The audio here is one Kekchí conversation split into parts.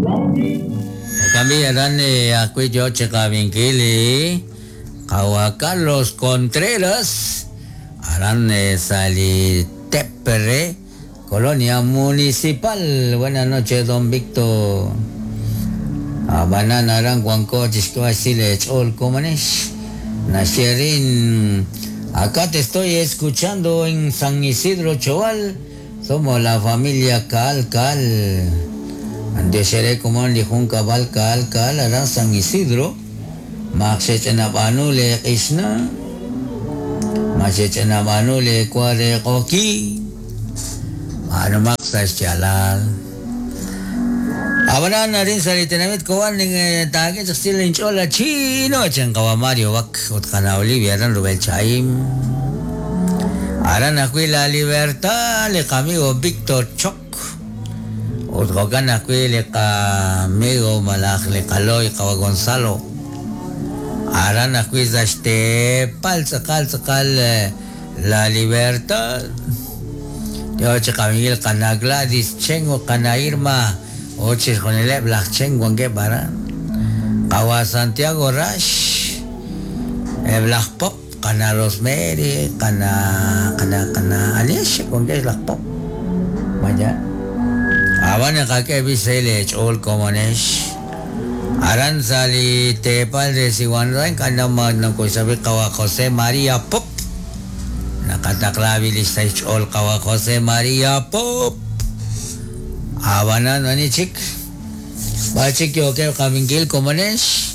Jo'kan b'i' aran ajwi' yo chi qab'inkil li qawa' Carlos Contreras aran sa' li tep re Colonia Municipal. Buenas noches, don Víctor. Ab'anan aran wanko chi xk'eb'al xsil eech'ool komonex. Naxye rin, Acá te estoy escuchando en San Isidro Choal, somos la familia Caal Caal. B'antiox eere komon li junkab'al Caal Caal aran San Isidro. Maq xech'anab'aanu leeq'ixna, ma xech'anab'aanu leewa re q'oqyink, b'aanumaq sa' xyaalal. Ab'anan arin sa' li tenamit Cobán taak'e chaq xsil inch'ool a Chino, chan qawa' Mario Bac ut qana' Olivia aran rub'el chahim. Aran ajwi' La Libertad li qamigo Víctor Choc. Ut jo'kan ajwi' li qamigo malaj li qalo'y qawa' Gonzalo, aran ajwi' sa' xteepal tz'aqal tz'aqal La Libertad, yo chi qamiiwil qana' Gladys Chen ut qana' Irma ut chixjunileb' laj Chen wankeb' aran, qawa' Santiago Rax, eb' laj Pop. Qana' Rosemary, qana' qana' qana' anihex chik wankex laj pop. Ma yaal? Ab'an naqak'e b'i xsahil eech'ool komonex. Aran sa' li teepal re Siwanra ink'a' nokoxsab'i qawa' José María Pop. Naqataqla b'i li xsahil xch'ool qawa' José María Pop. Ab'anan ani chik? B'ar chik yookeb' qab'inkil komonex?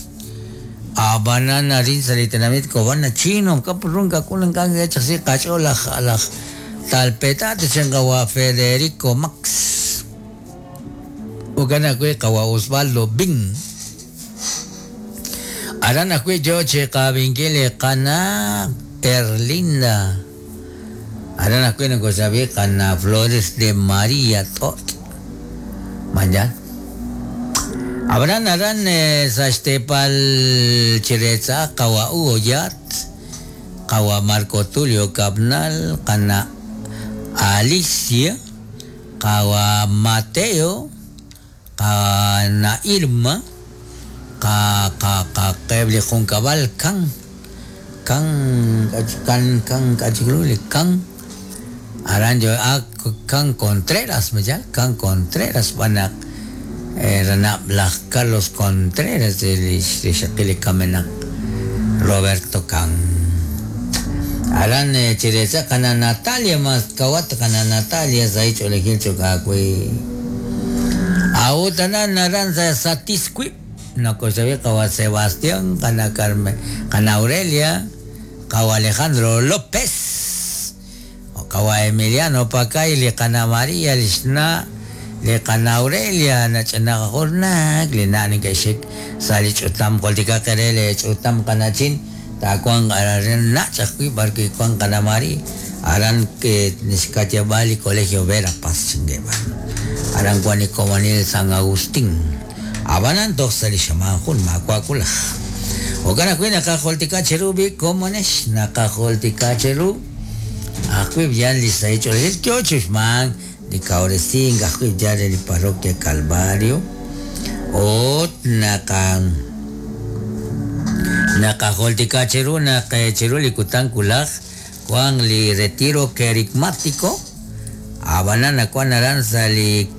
Ab'anan arin sa' li tenamit Cobán nachino kap run kak'ul ink'a' nk'e chaq qach'ool laj laj talpetate chan qawa' Federico Max jo'kan ajwi' qawa' Osvaldo Bin aran ajwi' yo chi qab'inkil li qana' Erlinda aran ajwi' nakoxrab'i qana' Flores de María T'ot' Mañan. Ab'anan aran sa' xteepal Chireetza qawa' Hugo Yat, qawa' Marco Tulio Cabnal, qana' Alicia, qawa' Mateo, qana' Irma, qa qa qa qeb' li junkab'al Kan, Kan, Kan, Kan, k'a' chik ru li Kan. Aran yo a Kan Contreras ma yaal Kan Contreras xb'aan naq ranab' laj Carlos Contreras li rixaqil li kamenaq Roberto Kan. Aran chireetza qana' Natalia mas kawat qana' Natalia sahil ch'oolejil cho'q aawe. A'ut aran aran sa' Satisquip nakoxab'i qawa' Sebastián qana' Carmen qana' Aurelia qawa' Alejandro López. Qawa' Emiliano Pacay, li qana' María, li xna' li qana' Aurelia, nach'anaq ajornak, li na' neke'xik sa' li ch'utam. Jultikaq eere li ch'utam qana'chin, taawanq aran nach' ajwi' b'arwi' wank qana' María, aran xka'yab'aal li Colegio Vera Paz chink'eeb'al. Aran wank li komonil San Agustín. Ab'anan toj sa' li xamaan jun maawa' wulaj. Jo'kan ajwi' naqajultika cheru b'i' komonex, naqajultika cheru ajwi' yal li sahil ch'oolejil yo chi uxmank li kawresink ajwi' yal re li parroquia Calvario ut naqa naqajultika cheru naq chiru li kutan wulaj wank li retiro kerigmático ab'anan nawank aran sa' li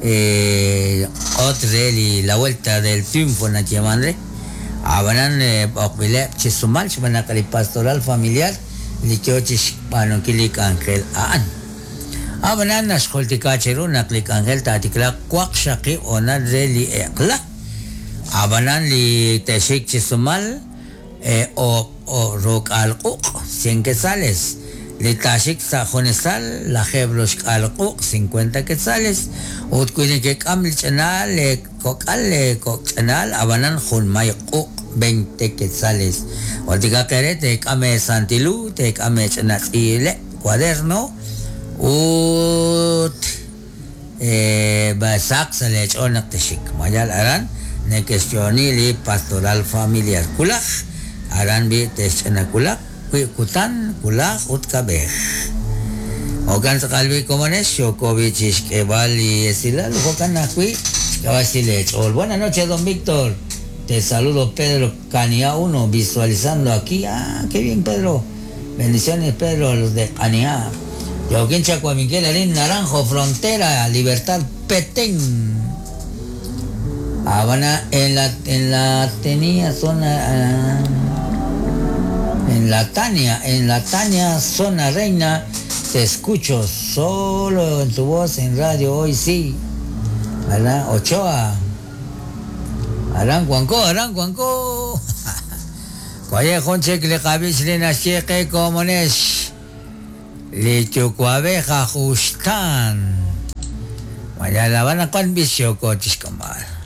q'oot re li La Vuelta del Triunfo nayeeman re, ab'anan b'oqb'ileb' chi sumal xb'aan naq li pastoral familiar li yo chi xb'aanunkil li k'anjel a'an. Ab'anan naxjultika cheru naq li k'anjel taatiklaaq waqxaqib' hoonal re li eq'la, ab'anan li te'xik chi sumal O'rok'aal q'uq', cien quetzales, li taaxik sa' junesal, lajeeb' roxk'aal q'uq', cincuenta quetzales, ut wi nekek'am li ch'anaal leekok'al leekok' ch'anaal, ab'anan junmay q'uq', veinte quetzales. Jultikaq eere teek'am eesantil hu, teek'am eech'ina tz'iileb', cuaderno, ut saq sa' leech'ool naq texxik. Mayal aran neke'xyo'oni li pastoral familiar. Wulaj, aran b'i' te'xch'ina wulaq, wiib' kutan, wulaj ut kab'ej. Jo'kan tz'aqal b'i' komonex, yooko b'i' chi xk'eeb'al li esilal, jo'kan ajwi' Buenas noches, don Víctor. Te saludo, Pedro Cania 1, visualizando aquí. Ah, qué bien, Pedro. Bendiciones, Pedro, los de Cania. Joaquín Chacuaminquel, Arín Naranjo, Frontera, Libertad, Petén. Habana, en la, en la tenía zona. Ah, en la Tania, en la Tania, zona reina, te escucho solo en tu voz en radio hoy sí. ¿Verdad? Ochoa. Arán Cuanco, Arán Cuanco. Oye, Jonche, le qabich le nasieque como nes. Le chucuabeja justan. Vaya la van a con vicio cochis comal.